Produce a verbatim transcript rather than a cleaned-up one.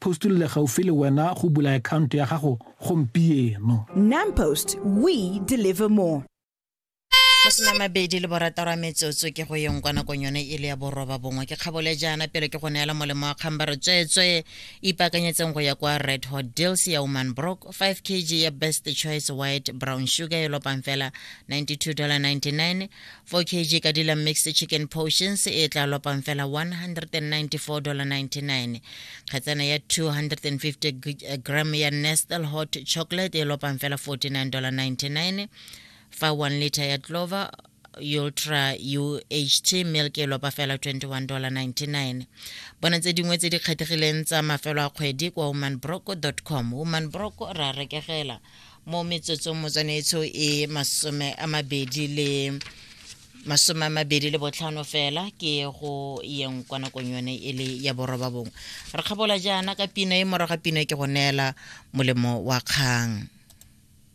Post le le gaufi le wena go bula akhaonto ya gago gompieno. NamPost, we deliver more. Masome a mabedi le borataro a metsotso ke go yeng kwa nakong yone e le ya boroba bongwe. Ke kgabole jaana pele ke go neela molemo wa kgang. Ba re tsweetswe ipaakanyetseng go ya kwa Red Hot Deals ya Woman Brock. five kilograms ya Best Choice white brown sugar e lopang fela ninety-two dollar ninety-nine. four kilograms ka dila mixed chicken portions e tla lopang fela one hundred ninety-four dollar ninety-nine. Kgetsana ya two hundred fifty gram ya Nestle hot chocolate e lopang fela forty-nine dollar ninety-nine, fa one liter ya Clover Ultra U H T milk e lopa fela twenty-one dollar ninety-nine. Bona tse dingwe tse di kgethegileng tsa mafelo a kgwedi kwa womanbrock dot com. Womanbrock, ra rekegela mo metsotsong motswanetsho e masome a mabedi le masome a mabedi le botlhano fela ke go yeng kwa nakong yone e le ya boroba bongwe. Re kgabola jaana ka pina e, morago ga pina e ke go neela molemo wa kgang.